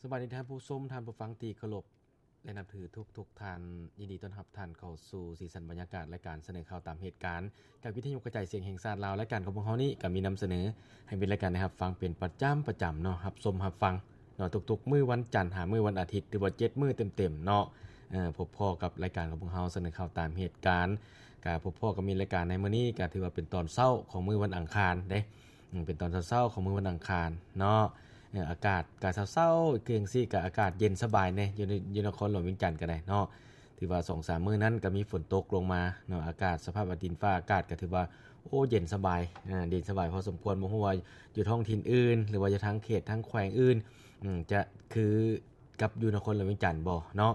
ສະບາຍດີທ່ານຜູ້ຊົມ, ທ່ານຜູ້ຟັງທີ່ເຄົາລົບ ແລະ ນັບຖືທຸກໆທ່ານ. ຍິນດີຕ້ອນຮັບທ່ານເຂົ້າສູ່ສີສັນບັນຍາກາດລາຍການສະເໜີຂ່າວຕາມເຫດການ ຈາກວິທະຍຸກະຈາຍສຽງແຫ່ງຊາດລາວ. ລາຍການຂອງພວກເຮົານີ້ກໍມີນຳສະເໜີໃຫ້ມິດລາຍການໄດ້ຮັບຟັງເປັນປະຈຳ, ປະຈຳເນາະ, ຮັບຊົມຮັບຟັງເນາະ ທຸກໆມື້ວັນຈັນຫາມື້ວັນອາທິດ ຫຼືວ່າເຈັດມື້ເຕັມໆເນາະ. ເອີ ພົບພໍ້ກັບລາຍການຂອງພວກເຮົາສະເໜີຂ່າວຕາມເຫດການ. ກະພົບພໍ້ກັບມິດລາຍການໃນມື້ນີ້ ກະຖືວ່າເປັນຕອນເຊົ້າຂອງມື້ວັນອັງຄານເດ້. ອືມ ເປັນຕອນເຊົ້າໆຂອງມື້ວັນອັງຄານເນາະ. ເອີ ອາກາດກະເຊົ້າໆຄືຈັ່ງຊີ້ ກະອາກາດເຢັນສະບາຍແດ່ ຢູ່ໃນ ຢູ່ນະຄອນຫຼວງວຽງຈັນກໍໄດ້ເນາະ. ຖືວ່າສອງສາມມື້ນັ້ນກໍມີຝົນຕົກລົງມາເນາະ, ອາກາດ ສະພາບດິນຟ້າອາກາດກໍຖືວ່າ ໂອ້ ເຢັນສະບາຍ ເອີ ເຢັນສະບາຍພໍສົມຄວນ. ບໍ່ຮູ້ວ່າຢູ່ທ້ອງຖິ່ນອື່ນ ຫຼືວ່າຢູ່ທາງເຂດທາງແຂວງອື່ນ ອືມ ຈະຄືກັບຢູ່ນະຄອນຫຼວງວຽງຈັນບໍ່ເນາະ.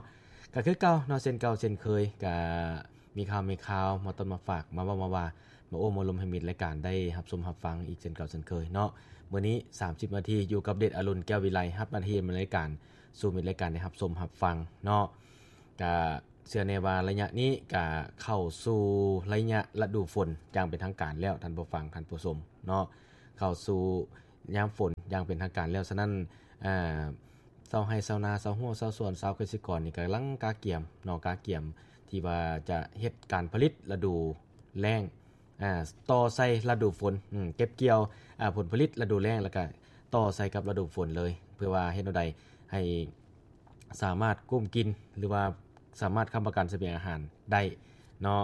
ກໍຄືເກົ່າເນາະ ເຊັ່ນເກົ່າເຊັ່ນເຄີຍ ກໍ ມີຂ່າວ ມີຂ່າວມາຕ້ອນມາຝາກ ມາເວົ້າມາວ່າ ມາໂອ້ມາລົມໃຫ້ມິດລາຍການໄດ້ຮັບຊົມຮັບຟັງອີກເຊັ່ນເກົ່າເຊັ່ນເຄີຍເນາະ. ມື້ນີ້ສາມສິບນາທີ ຢູ່ກັບເດດອາລຸນ ແກ້ວວິໄລ ຮັບໜ້າທີ່ດຳເນີນລາຍການສູ່ມິດລາຍການໄດ້ຮັບຊົມຮັບຟັງເນາະ. ກະເຊື່ອແນ່ວ່າໄລຍະນີ້ກະເຂົ້າສູ່ໄລຍະລະດູຝົນຢ່າງເປັນທາງການແລ້ວ ທ່ານຜູ້ຟັງ ທ່ານຜູ້ຊົມເນາະ, ເຂົ້າສູ່ຍາມຝົນຢ່າງເປັນທາງການແລ້ວ. ສະນັ້ນ ອາ ຊາວໄຮ່ຊາວນາ ຊາວຮົ້ວຊາວສວນ ຊາວກະສິກອນນີ້ກຳລັງກະກຽມເນາະ, ກະກຽມທີ່ວ່າຈະເຮັດການຜະລິດລະດູແລ້ງ ອາ ຕໍ່ໃສ່ລະດູຝົນ ອາ ເກັບກ່ຽວ ອາ ຜົນຜະລິດລະດູແລ້ງ ແລ້ວກະຕໍ່ໃສ່ກັບລະດູຝົນເລີຍ ເພື່ອວ່າເຮັດແນວໃດໃຫ້ສາມາດກຸ້ມກິນ ຫຼືວ່າສາມາດຄ້ຳປະກັນສະບຽງອາຫານໄດ້ເນາ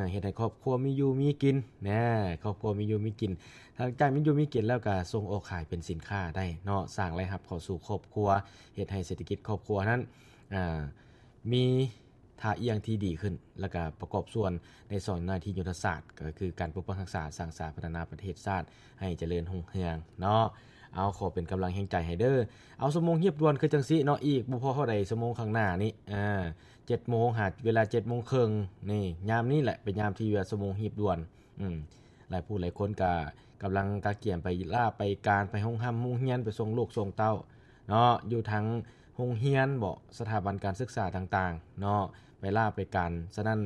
ະ. ເຮັດໃຫ້ຄອບຄົວມີຢູ່ມີກິນນະ, ຄອບຄົວມີຢູ່ມີກິນ. ຫຼັງຈາກມີຢູ່ມີກິນແລ້ວກະສົ່ງອອກຂາຍເປັນສິນຄ້າໄດ້ເນາະ, ສ້າງລາຍຮັບເຂົ້າສູ່ຄອບຄົວ, ເຮັດໃຫ້ເສດຖະກິດຄອບຄົວນັ້ນ ອາ ມີທ່າອ່ຽງທີ່ດີຂຶ້ນ ແລ້ວກະປະກອບສ່ວນໃນສອງໜ້າທີ່ຍຸດທະສາດ ກໍຄືການປົກປັກຮັກສາ, ສ້າງສາ, ພັດທະນາປະເທດຊາດໃຫ້ຈະເລີນຮຸ່ງເຮືອງເນາະ. ເອົາ ຂໍເປັນກຳລັງແຮງໃຈໃຫ້ເດີ. ເອົາ ຊົ່ວໂມງຮີບດ່ວນຄືຈັ່ງຊີ້ເນາະ, ອີກບໍ່ພໍເທົ່າໃດຊົ່ວໂມງຂ້າງໜ້ານີ້ ອາ ເຈັດໂມງ ຫາເວລາເຈັດໂມງເຄິ່ງນີ້, ຍາມນີ້ແຫຼະເປັນຍາມທີ່ວ່າຊົ່ວໂມງຮີບດ່ວນ. ອືມ ຫຼາຍຜູ້ຫຼາຍຄົນກະກຳລັງກະກຽມໄປລາໄປການ, ໄປໂຮງຮ່ຳໂຮງຮຽນ, ໄປສົ່ງລູກສົ່ງເຕົ້າເນາະ, ຢູ່ທາງໂຮງຮຽນເບາະ, ສະຖາບັນການສຶກສາຕ່າງໆເນາະ, ໄປລາໄປການ. ສະນັ້ນ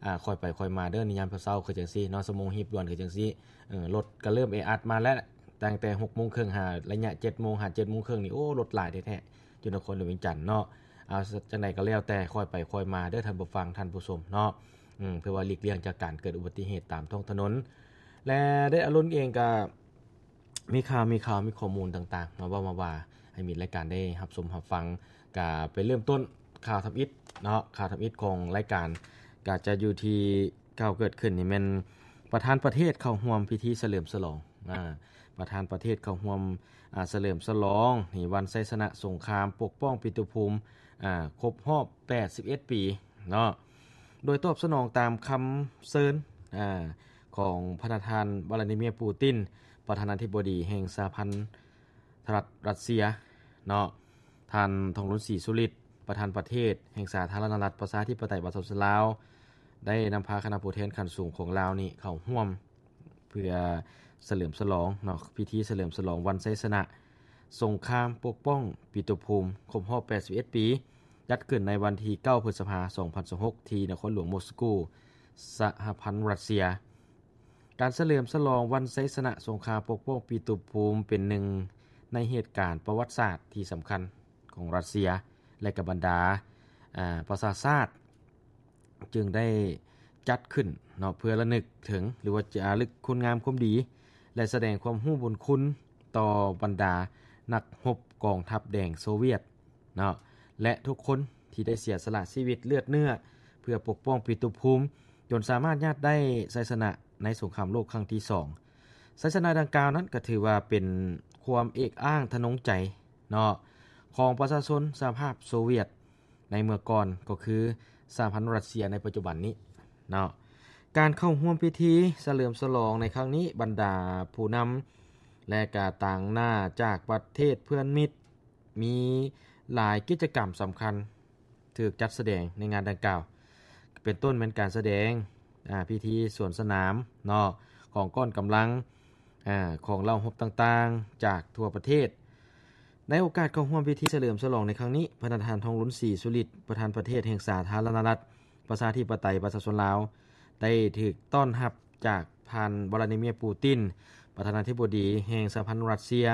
ອາ ຄ່ອຍໄປຄ່ອຍມາເດີ ໃນຍາມເຊົ້າໆຄືຈັ່ງຊີ້ເນາະ, ຊົ່ວໂມງຮີບດ່ວນຄືຈັ່ງຊີ້. ເອີ ລົດກະເລີ່ມແອອັດມາແລ້ວ ຕັ້ງແຕ່ຫົກໂມງເຄິ່ງ ຫາໄລຍະເຈັດໂມງ ຫາເຈັດໂມງເຄິ່ງນີ້ ໂອ້ ລົດຫຼາຍແທ້ໆ ຢູ່ນະຄອນຫຼວງວຽງຈັນເນາະ. ເອົາ ຈັ່ງໃດກໍແລ້ວແຕ່ ຄ່ອຍໄປຄ່ອຍມາເດີທ່ານຜູ້ຟັງ ທ່ານຜູ້ຊົມເນາະ. ອືມ ເພື່ອວ່າຫຼີກລ່ຽງຈາກການເກີດອຸບັດຕິເຫດຕາມທ້ອງຖະໜົນ ແລະ ເດດອາລຸນເອງກະມີຂ່າວ ມີຂ່າວ ມີຂໍ້ມູນຕ່າງໆ ມາເວົ້າມາວ່າໃຫ້ມິດລາຍການໄດ້ຮັບຊົມຮັບຟັງ. ກະໄປເລີ່ມຕົ້ນຂ່າວທຳອິດເນາະ, ຂ່າວທຳອິດຂອງລາຍການກະຈະຢູ່ທີ່ ຂ່າວເກີດຂຶ້ນນີ້ແມ່ນປະທານປະເທດເຂົ້າຮ່ວມພິທີສະເຫຼີມສະຫຼອງ ອາ ປະທານປະເທດເຂົ້າຮ່ວມ ອາ ສະເຫຼີມສະຫຼອງໃນວັນໄຊຊະນະສົງຄາມປົກປ້ອງປິຕຸພູມ ອາ ຄົບຮອບແປດສິບເອັດປີເນາະ, ໂດຍຕອບສະໜອງຕາມຄຳເຊີນ ອາ ຂອງພະນະທ່ານ ວລາດີເມຍ ປູຕິນ ປະທານາທິບໍດີແຫ່ງສະຫະພັນ ລັດລັດເຊຍເນາະ, ທ່ານ ທອງລຸນ ສີສຸລິດ ປະທານປະເທດແຫ່ງສາທາລະນະລັດປະຊາທິປະໄຕປະຊາຊົນລາວ ໄດ້ນຳພາຄະນະຜູ້ແທນຂັ້ນສູງຂອງລາວນີ້ເຂົ້າຮ່ວມ ເພື່ອສະເຫຼີມສະຫຼອງເນາະ, ພິທີສະເຫຼີມສະຫຼອງວັນໄຊຊະນະສົງຄາມປົກປ້ອງປິຕຸພູມຄົບຮອບແປດສິບເອັດປີ, ຈັດຂຶ້ນໃນວັນທີເກົ້າ ພຶດສະພາ ສອງພັນຊາວຫົກ ທີ່ນະຄອນຫຼວງມົສກູ ສະຫະພັນລັດເຊຍ. ການສະເຫຼີມສະຫຼອງວັນໄຊຊະນະສົງຄາມປົກປ້ອງປິຕຸພູມ ເປັນໜຶ່ງໃນເຫດການປະຫວັດສາດທີ່ສຳຄັນຂອງຣັດເຊຍ ແລະ ກະບັນດາ ອາ ປະຊາຊາດ ຈຶ່ງໄດ້ຈັດຂຶ້ນເນາະ ເພື່ອລະນຶກເຖິງ ຫຼືວ່າຈາລຶກຄຸນງາມຄວາມດີ ແລະ ສະແດງຄວາມຮູ້ບຸນຄຸນຕໍ່ບັນດານັກຮົບກອງທັບແດງໂຊວຽດ ເນາະ ແລະ ທຸກຄົນທີ່ໄດ້ເສຍສະຫຼະຊີວິດເລືອດເນື້ອ ເພື່ອປົກປ້ອງປິຕຸພູມ ຈົນສາມາດຍາດໄດ້ໄຊຊະນະໃນສົງຄາມໂລກຄັ້ງທີສອງ. ໄຊຊະນະດັ່ງກ່າວນັ້ນກໍຖືວ່າເປັນຄວາມເອກອ້າງທະນົງໃຈເນາະ ຂອງປະຊາຊົນສະຫະພາບໂຊວຽດໃນເມື່ອກ່ອນ ກໍຄືສະຫະພັນລັດເຊຍໃນປັດຈຸບັນນີ້ເນາະ. ການເຂົ້າຮ່ວມພິທີສະເຫຼີມສະຫຼອງໃນຄັ້ງນີ້ ບັນດາຜູ້ນຳ ແລະ ກະຕາງໜ້າຈາກປະເທດເພື່ອນມິດ ມີຫຼາຍກິດຈະກຳສຳຄັນຖືກຈັດສະແດງໃນງານດັ່ງກ່າວ ເປັນຕົ້ນແມ່ນການສະແດງ ອາ ພິທີສວນສະໜາມເນາະ ຂອງກ້ອນກຳລັງ ອາ ຂອງເຫຼົ່າຮົບຕ່າງໆຈາກທົ່ວປະເທດ. ໃນໂອກາດເຂົ້າຮ່ວມພິທີສະເຫຼີມສະຫຼອງໃນຄັ້ງນີ້ ພະນະທ່ານ ທອງລຸນ ສີສຸລິດ ປະທານປະເທດແຫ່ງສາທາລະນະລັດ ປະຊາທິປະໄຕປະຊາຊົນລາວ ໄດ້ຖືກຕ້ອນຮັບຈາກທ່ານ ວລາດີເມຍ ປູຕິນ ປະທານາທິບໍດີແຫ່ງສະຫະພັນຣັດເຊຍ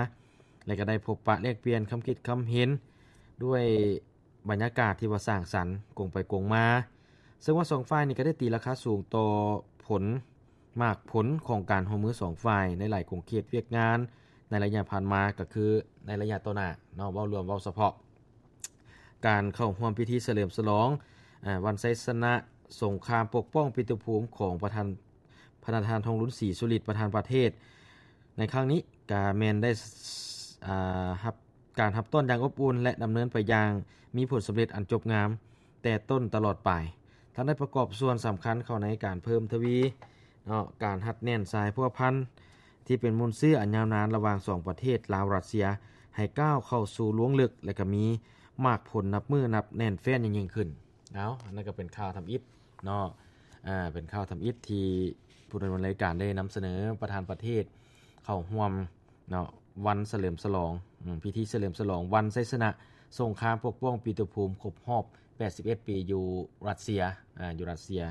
ແລະ ກໍໄດ້ພົບປະແລກປ່ຽນຄຳຄິດຄຳເຫັນ ດ້ວຍບັນຍາກາດທີ່ວ່າສ້າງສັນກົງໄປກົງມາ ເຊິ່ງວ່າສອງຝ່າຍນີ້ກໍໄດ້ຕີລາຄາສູງຕໍ່ຜົນ ໝາກຜົນຂອງການຮ່ວມມືສອງຝ່າຍໃນຫຼາຍຂົງເຂດວຽກງານໃນໄລຍະຜ່ານມາ ກໍຄືໃນໄລຍະຕໍ່ໜ້າເນາະ ເວົ້າລວມເວົ້າສະເພາະ ການເຂົ້າຮ່ວມພິທີສະເຫຼີມສະຫຼອງ ອາ ວັນໄຊຊະນະສົງຄາມປົກປ້ອງປີດຕະພູມຂອງປະທານ ພະນະທ່ານ ທອງລຸນ ສີສຸລິດ ປະທານປະເທດ ໃນຄັ້ງນີ້ກະແມ່ນໄດ້ ອາ ຮັບການຮັບຕ້ອນຢ່າງອົບອຸ່ນ ແລະ ດຳເນີນໄປຢ່າງມີຜົນສຳເລັດອັນຈົບງາມແຕ່ຕົ້ນຕະຫຼອດປາຍ, ທັງໄດ້ປະກອບສ່ວນສຳຄັນເຂົ້າໃນການເພີ່ມທະວີເນາະ ການຮັດແໜ້ນສາຍພົວພັນທີ່ເປັນມູນເຊື້ອອັນຍາວນານລະຫວ່າງສອງປະເທດລາວ-ຣັດເຊຍ ໃຫ້ກ້າວເຂົ້າສູ່ລວງເລິກ ແລະ ກະມີໝາກຜົນນັບມື້ນັບແໜ້ນແຟ້ນຍິ່ງໆຂຶ້ນ. ເອົາ ອັນນັ້ນກໍເປັນຂ່າວທຳອິດເນາະ ອາ ເປັນຂ່າວທຳອິດທີ່ຜູ້ດຳເນີນລາຍການໄດ້ນຳສະເໜີ ປະທານປະເທດເຂົ້າຮ່ວມເນາະ ວັນສະເຫຼີມສະຫຼອງ ອາ ພິທີສະເຫຼີມສະຫຼອງວັນໄຊຊະນະສົງຄາມປົກປ້ອງປີດຕະພູມຄົບຮອບແປດສິບເອັດປີຢູ່ຣັດເຊຍ ອາ ຢູ່ຣັດເຊຍ.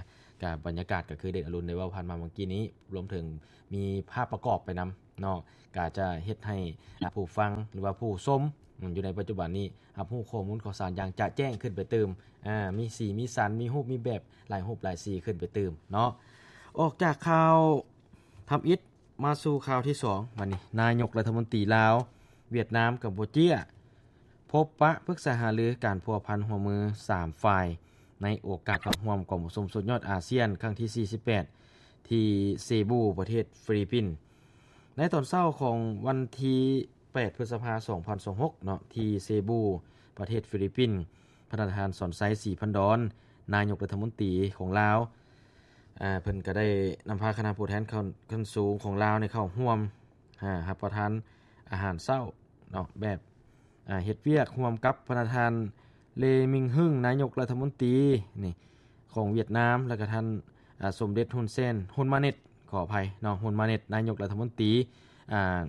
ກະບັນຍາກາດກໍຄືເດດອະລຸນໄດ້ເວົ້າຜ່ານມາເມື່ອກີ້ນີ້ ລວມເຖິງມີພາບປະກອບໄປນຳເນາະ ກະຈະເຮັດໃຫ້ ອາ ຜູ້ຟັງ ຫຼືວ່າຜູ້ຊົມ ອາ ຢູ່ໃນປັດຈຸບັນນີ້ ຮັບຮູ້ຂໍ້ມູນຂ່າວສານຢ່າງຈະແຈ້ງຂຶ້ນໄປຕື່ມ ອາ ມີສີມີສັນ ມີຮູບມີແບບ ຫຼາຍຮູບຫຼາຍສີຂຶ້ນໄປຕື່ມເນາະ. ອອກຈາກຂ່າວທຳອິດ ມາສູ່ຂ່າວທີສອງ ບັດນີ້ ນາຍົກລັດຖະມົນຕີລາວ ຫວຽດນາມ ກຳປູເຈຍ ພົບປະປຶກສາຫາລືການພົວພັນຮ່ວມມືສາມຝ່າຍ ໃນໂອກາດເຂົ້າຮ່ວມກອງປະຊຸມສຸດຍອດອາຊຽນຄັ້ງທີສີ່ສິບແປດ ທີ່ເຊບູ ປະເທດຟີລິບປິນ. ໃນຕອນເຊົ້າຂອງວັນທີແປດ ພຶດສະພາ ສອງພັນຊາວຫົກເນາະ ທີ່ເຊບູ ປະເທດຟີລິບປິນ ພະນະທ່ານ ສອນໄຊ ສີພັນດອນ ນາຍົກລັດຖະມົນຕີຂອງລາວ ອາ ເພິ່ນກໍໄດ້ນຳພາຄະນະຜູ້ແທນຂັ້ນ ຂັ້ນສູງຂອງລາວນີ້ເຂົ້າຮ່ວມ ອາ ຮັບປະທານອາຫານເຊົ້າເນາະ ແບບ ອາ ເຮັດວຽກຮ່ວມກັບພະນະທ່ານ ເລ ມິງຮຶງ ນາຍົກລັດຖະມົນຕີນີ້ຂອງຫວຽດນາມ ແລ້ວກໍທ່ານ ອາ ສົມເດັດ ຮຸນເຊນ ຮຸນມາເນັດ ຂໍອະໄພເນາະ ຮຸນມາເນັດ ນາຍົກລັດຖະມົນຕີ ອາ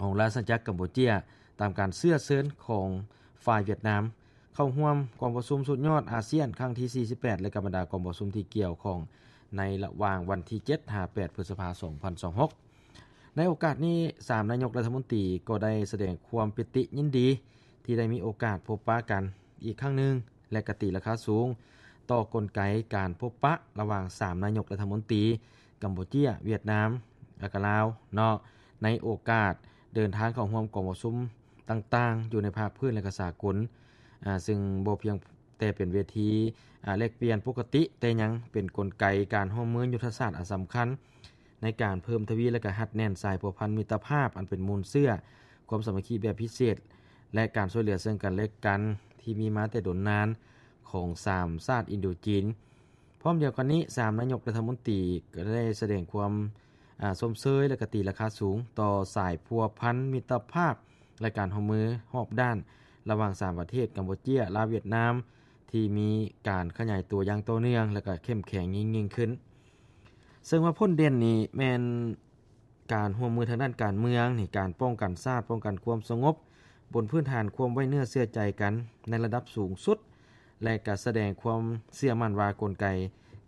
ຂອງລາຊະອານາຈັກກຳປູເຈຍ ຕາມການເຊື້ອເຊີນຂອງຝ່າຍຫວຽດນາມ ເຂົ້າຮ່ວມກອງປະຊຸມສຸດຍອດອາຊຽນຄັ້ງທີສີ່ສິບແປດ ແລະ ກະບັນດາກອງປະຊຸມທີ່ກ່ຽວຂ້ອງ ໃນລະຫວ່າງວັນທີເຈັດຫາແປດ ພຶດສະພາ ສອງພັນຊາວຫົກ. ໃນໂອກາດນີ້ ສາມນາຍົກລັດຖະມົນຕີກໍໄດ້ສະແດງຄວາມປີຕິຍິນດີ ທີ່ໄດ້ມີໂອກາດພົບປະກັນອີກຄັ້ງໜຶ່ງ ແລະ ກະຕີລາຄາສູງຕໍ່ກົນໄກການພົບປະລະຫວ່າງສາມນາຍົກລັດຖະມົນຕີ ກຳປູເຈຍ, ຫວຽດນາມ ແລະ ກະລາວເນາະ ໃນໂອກາດເດີນທາງເຂົ້າຮ່ວມກອງປະຊຸມຕ່າງໆ ຢູ່ໃນພາກພື້ນ ແລະ ກະສາກົນ ອາ ຊຶ່ງບໍ່ພຽງແຕ່ເປັນເວທີ ອາ ແລກປ່ຽນປົກກະຕິ ແຕ່ຍັງເປັນກົນໄກການຮ່ວມມືຍຸດທະສາດອັນສຳຄັນ ໃນການເພີ່ມທະວີ ແລະ ກະຮັດແໜ້ນສາຍພົວພັນມິດຕະພາບ ອັນເປັນມູນເຊື້ອຄວາມສາມັກຄີແບບພິເສດ ແລະ ການຊ່ວຍເຫຼືອເຊິ່ງກັນ ແລະ ກັນ ທີ່ມີມາແຕ່ດົນນານຂອງສາມຊາດອິນໂດຈີນ. ພ້ອມດຽວກັນນີ້ ສາມນາຍົກລັດຖະມົນຕີກໍໄດ້ສະແດງຄວາມ ອາ ຊົມເຊີຍ ແລະ ກະຕີລາຄາສູງຕໍ່ສາຍພົວພັນມິດຕະພາບ ແລະ ການຮ່ວມມືຮອບດ້ານ ລະຫວ່າງສາມປະເທດ ກຳປູເຈຍ, ລາວ, ຫວຽດນາມ ທີ່ມີການຂະຫຍາຍຕົວຢ່າງຕໍ່ເນື່ອງ ແລະ ກະເຂັ້ມແຂງຍິ່ງໆຂຶ້ນ. ເຊິ່ງວ່າຜົນເດັ່ນນີ້ແມ່ນການຮ່ວມມືທາງດ້ານການເມືອງນີ້ ການປ້ອງກັນຊາດ, ປ້ອງກັນຄວາມສະຫງົບ ບົນພື້ນຖານຄວາມໄວ້ເນື້ອເຊື່ອໃຈກັນໃນລະດັບສູງສຸດ ແລະ ກະສະແດງຄວາມເຊື່ອໝັ້ນວ່າກົນໄກ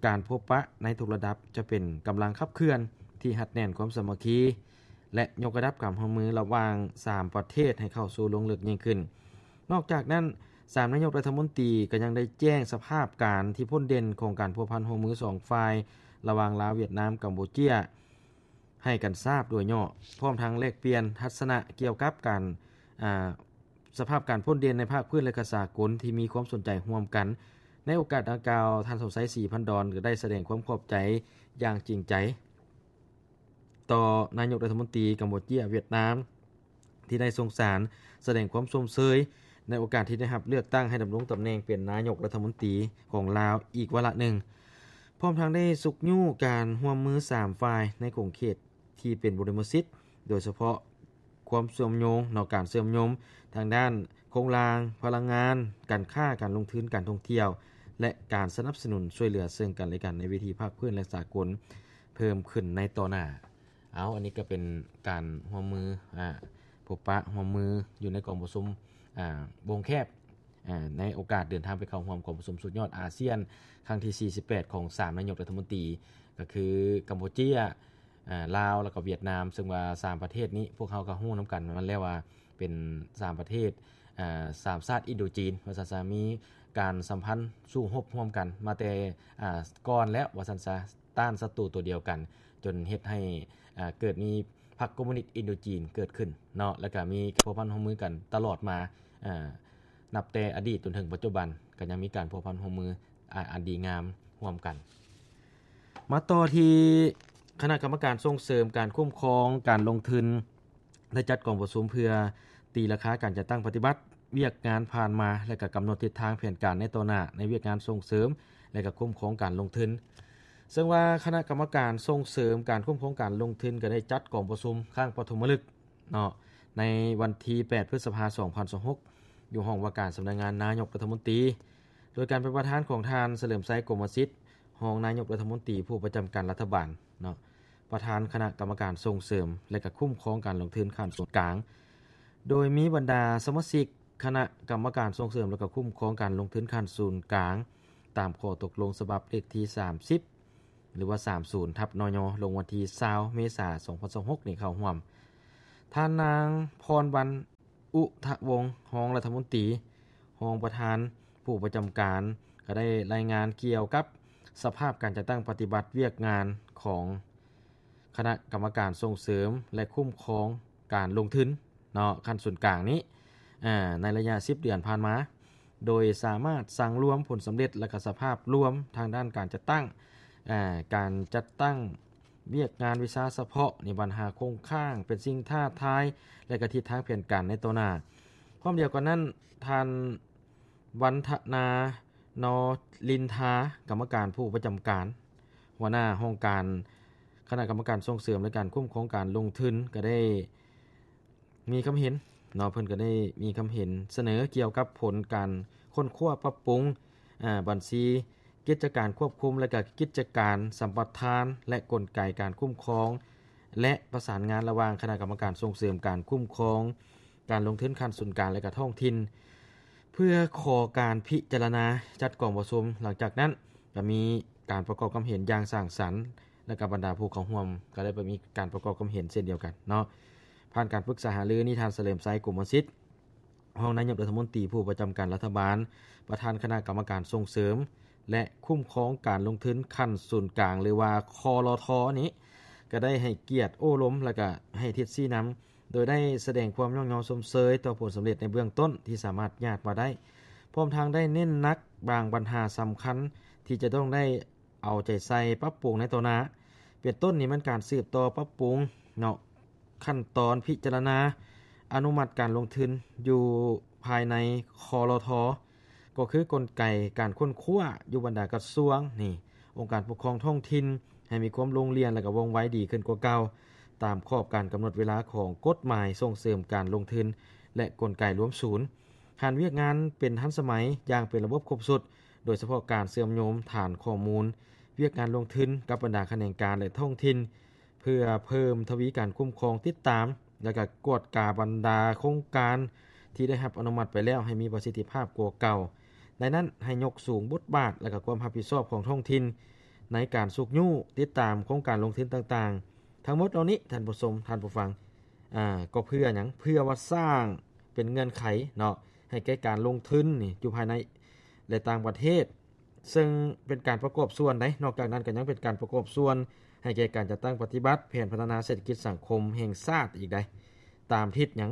ການພົບປະໃນທຸກລະດັບຈະເປັນກຳລັງຂັບເຄື່ອນທີ່ຮັດແໜ້ນຄວາມສາມັກຄີ ແລະ ຍົກລະດັບການຮ່ວມມືລະຫວ່າງສາມປະເທດໃຫ້ເຂົ້າສູ່ລວງເລິກຍິ່ງຂຶ້ນ. ນອກຈາກນັ້ນ, ສາມນາຍົກລັດຖະມົນຕີກໍຍັງໄດ້ແຈ້ງສະພາບການທີ່ພົ້ນເດັ່ນຂອງການພົວພັນຮ່ວມມືສອງຝ່າຍ ລະຫວ່າງລາວ, ຫວຽດນາມ, ກຳປູເຈຍ ໃຫ້ກັນຊາບໂດຍຫຍໍ້, ພ້ອມທັງແລກປ່ຽນທັດສະນະກ່ຽວກັບການ ອາ ສະພາບການພົ້ນເດັ່ນໃນພາກພື້ນ ແລະ ກະສາກົນທີ່ມີຄວາມສົນໃຈຮ່ວມກັນ. ໃນໂອກາດດັ່ງກ່າວ, ທ່ານ ສົມໄຊ ສີພັນດອນ ກໍໄດ້ສະແດງຄວາມຂອບໃຈຢ່າງຈິງໃຈ ຕໍ່ນາຍົກລັດຖະມົນຕີກຳປູເຈຍ, ຫວຽດນາມ ທີ່ໄດ້ສົ່ງສານສະແດງຄວາມຊົມເຊີຍໃນໂອກາດທີ່ໄດ້ຮັບເລືອກຕັ້ງໃຫ້ດຳລົງຕຳແໜ່ງເປັນນາຍົກລັດຖະມົນຕີຂອງລາວອີກວາລະໜຶ່ງ, ພ້ອມທັງໄດ້ຊຸກຍູ້ການຮ່ວມມືສາມຝ່າຍໃນຂົງເຂດທີ່ເປັນບູລິມະສິດ, ໂດຍສະເພາະຄວາມເຊື່ອມໂຍງເນາະ, ການເຊື່ອມໂຍງທາງດ້ານໂຄງລ່າງ, ພະລັງງານ, ການຄ້າ, ການລົງທຶນ, ການທ່ອງທ່ຽວ ແລະ ການສະໜັບສະໜູນຊ່ວຍເຫຼືອເຊິ່ງກັນ ແລະ ກັນໃນເວທີພາກພື້ນ ແລະ ສາກົນເພີ່ມຂຶ້ນໃນຕໍ່ໜ້າ. ເອົາ ອັນນີ້ກໍເປັນການຮ່ວມມື ອາ ພົບປະຮ່ວມມືຢູ່ໃນກອງປະຊຸມ ອາ ວົງແຄບ ອາ ໃນໂອກາດເດີນທາງໄປເຂົ້າຮ່ວມກອງປະຊຸມສຸດຍອດອາຊຽນຄັ້ງທີສີ່ສິບແປດ ຂອງສາມນາຍົກລັດຖະມົນຕີ ກໍຄືກຳປູເຈຍ, ອາ ລາວ ແລ້ວກໍຫວຽດນາມ, ເຊິ່ງວ່າສາມປະເທດນີ້ພວກເຮົາກໍຮູ້ນຳກັນນັ້ນແຫຼະວ່າ ເປັນສາມປະເທດ ອາ ສາມຊາດອິນໂດຈີນ ວ່າຊັ້ນຊະ ມີການສຳພັນສູ້ຮົບຮ່ວມກັນມາແຕ່ ອາ ກ່ອນແລ້ວ ວ່າຊັ້ນຊະ ຕ້ານສັດຕູຕົວດຽວກັນ ຈົນເຮັດໃຫ້ ອາ ເກີດມີພັກຄອມມູນິດອິນໂດຈີນເກີດຂຶ້ນເນາະ ແລ້ວກະມີພົວພັນຮ່ວມມືກັນຕະຫຼອດມາ ອາ ນັບແຕ່ອະດີດຈົນເຖິງປັດຈຸບັນ ກໍຍັງມີການພົວພັນຮ່ວມມື ອາ ອັນດີງາມຮ່ວມກັນ. ມາຕໍ່ທີ່ຄະນະກຳມະການສົ່ງເສີມການຄຸ້ມຄອງການລົງທຶນ ໄດ້ຈັດກອງປະຊຸມເພື່ອຕີລາຄາການຈັດຕັ້ງປະຕິບັດວຽກງານຜ່ານມາ ແລະ ກະກຳນົດທິດທາງແຜນການໃນຕໍ່ໜ້າ ໃນວຽກງານສົ່ງເສີມ ແລະ ກະຄຸ້ມຄອງການລົງທຶນ. ເຊິ່ງວ່າຄະນະກຳມະການສົ່ງເສີມການຄຸ້ມຄອງການລົງທຶນ ກໍໄດ້ຈັດກອງປະຊຸມຄັ້ງປະຖົມມະລຶກເນາະ ໃນວັນທີແປດ ພຶດສະພາ ສອງພັນຊາວຫົກ ຢູ່ຫ້ອງວ່າການສຳນັກງານນາຍົກລັດຖະມົນຕີ ໂດຍການເປັນປະທານຂອງທ່ານ ສະເຫຼີມໄຊ ກົມມະສິດ ຮອງນາຍົກລັດຖະມົນຕີຜູ້ປະຈຳການລັດຖະບານເນາະ ປະທານຄະນະກຳມະການສົ່ງເສີມ ແລະ ກະຄຸ້ມຄອງການລົງທຶນຂັ້ນສູນກາງ ໂດຍມີບັນດາສະມາຊິກຄະນະກຳມະການສົ່ງເສີມ ແລະ ກະຄຸ້ມຄອງການລົງທຶນຂັ້ນສູນກາງ ຕາມຂໍ້ຕົກລົງສະບັບເລກທີສາມສິບ ຫຼືວ່າ ສາມສິບ ທັບ ນຍ ລົງວັນທີຊາວ ເມສາ ສອງພັນຊາວຫົກ ນີ້ເຂົ້າຮ່ວມ. ທ່ານນາງ ພອນວັນ ອຸທະວົງ ຮອງລັດຖະມົນຕີ ຮອງປະທານຜູ້ປະຈຳການ ກໍໄດ້ລາຍງານກ່ຽວກັບສະພາບການຈັດຕັ້ງປະຕິບັດວຽກງານຂອງຄະນະກຳມະການສົ່ງເສີມ ແລະ ຄຸ້ມຄອງການລົງທຶນເນາະ ຂັ້ນສູນກາງນີ້ ອາ ໃນໄລຍະສິບເດືອນຜ່ານມາ ໂດຍສາມາດສັງລວມຜົນສຳເລັດ ແລະ ກະສະພາບລວມທາງດ້ານການຈັດຕັ້ງ ອາ ການຈັດຕັ້ງວຽກງານວິຊາສະເພາະ ໃນບັນຫາຄົງຄ້າງ ເປັນສິ່ງທ້າທາຍ ແລະ ກະທິດທາງແຜນການໃນຕໍ່ໜ້າ. ພ້ອມດຽວກັນນັ້ນ ທ່ານ ວັນທະນາ ນໍລິນທາ ກຳມະການຜູ້ປະຈຳການ ຫົວໜ້າຫ້ອງການຄະນະກຳມະການສົ່ງເສີມ ແລະ ການຄຸ້ມຄອງການລົງທຶນ ກໍໄດ້ ມີຄຳເຫັນເນາະ ເພິ່ນກໍໄດ້ມີຄຳເຫັນສະເໜີກ່ຽວກັບຜົນການຄົ້ນຄວ້າປັບປຸງ ອາ ບັນຊີກິດຈະການຄວບຄຸມ ແລະ ກະກິດຈະການສຳປະທານ ແລະ ກົນໄກການຄຸ້ມຄອງ ແລະ ປະສານງານລະຫວ່າງຄະນະກຳມະການສົ່ງເສີມການຄຸ້ມຄອງການລົງທຶນຂັ້ນສູນກາງ ແລະ ກະທ້ອງຖິ່ນ ເພື່ອຂໍການພິຈາລະນາຈັດກອງປະຊຸມ. ຫຼັງຈາກນັ້ນ ກະມີການປະກອບຄຳເຫັນຢ່າງສ້າງສັນ ແລະ ກະບັນດາຜູ້ເຂົ້າຮ່ວມກໍໄດ້ໄປມີການປະກອບຄຳເຫັນເຊັ່ນດຽວກັນເນາະ. ຜ່ານການປຶກສາຫາລືນີ້ ທ່ານ ສະເຫຼີມໄຊ ກົມມະສິດ ຮອງນາຍົກລັດຖະມົນຕີຜູ້ປະຈຳການລັດຖະບານ ປະທານຄະນະກຳມະການສົ່ງເສີມ ແລະ ຄຸ້ມຄອງການລົງທຶນຂັ້ນສູນກາງ ຫຼືວ່າ ຄລທ ນີ້ ກໍໄດ້ໃຫ້ກຽດໂອ້ລົມ ແລະ ກະໃຫ້ທິດຊີ້ນຳ ໂດຍໄດ້ສະແດງຄວາມຍ້ອງຍໍຊົມເຊີຍຕໍ່ຜົນສຳເລັດໃນເບື້ອງຕົ້ນທີ່ສາມາດຍາດມາໄດ້ ພ້ອມທັງໄດ້ເນັ້ນໜັກບາງບັນຫາສຳຄັນທີ່ຈະຕ້ອງໄດ້ເອົາໃຈໃສ່ປັບປຸງໃນຕໍ່ໜ້າ. ເປັນຕົ້ນນີ້ແມ່ນການສືບຕໍ່ປັບປຸງເນາະ ຂັ້ນຕອນພິຈາລະນາອະນຸມັດການລົງທຶນຢູ່ພາຍໃນ ຄລທ ກໍຄືກົນໄກການຄົ້ນຄວ້າຢູ່ບັນດາກະຊວງນີ້ ອົງການປົກຄອງທ້ອງຖິ່ນ ໃຫ້ມີຄວາມໂລ່ງລ່ຽນ ແລະ ກະວ່ອງໄວດີຂຶ້ນກວ່າເກົ່າ ຕາມຂອບການກຳນົດເວລາຂອງກົດໝາຍສົ່ງເສີມການລົງທຶນ ແລະ ກົນໄກລວມສູນ. ຫານວຽກງານເປັນທັນສະໄໝຢ່າງເປັນລະບົບຄົບຊຸດ ໂດຍສະເພາະການເຊື່ອມໂຍງຖານຂໍ້ມູນວຽກງານລົງທຶນກັບບັນດາຂະແໜງການ ແລະ ທ້ອງຖິ່ນ ເພື່ອເພີ່ມທະວີການຄຸ້ມຄອງ, ຕິດຕາມ ແລະ ກະກວດກາບັນດາໂຄງການທີ່ໄດ້ຮັບອະນຸມັດໄປແລ້ວໃຫ້ມີປະສິດທິພາບກວ່າເກົ່າ. ໃນນັ້ນໃຫ້ຍົກສູງບົດບາດ ແລະ ກະຄວາມຮັບຜິດຊອບຂອງທ້ອງຖິ່ນໃນການຊຸກຍູ້, ຕິດຕາມໂຄງການລົງທຶນຕ່າງໆ. ທັງໝົດເຫຼົ່ານີ້ ທ່ານຜູ້ຊົມ, ທ່ານຜູ້ຟັງ, ອາ, ກໍເພື່ອຫຍັງ? ເພື່ອວ່າສ້າງເປັນເງື່ອນໄຂເນາະ ໃຫ້ແກ່ການລົງທຶນນີ້ຢູ່ພາຍໃນ ແລະ ຕ່າງປະເທດ. ເຊິ່ງເປັນການປະກອບສ່ວນໃດ໋. ນອກຈາກນັ້ນກໍຍັງເປັນການປະກອບສ່ວນໃຫ້ແກ່ການຈັດຕັ້ງປະຕິບັດແຜນພັດທະນາເສດຖະກິດສັງຄົມແຫ່ງຊາດອີກໃດ໋. ຕາມທິດຫຍັງ?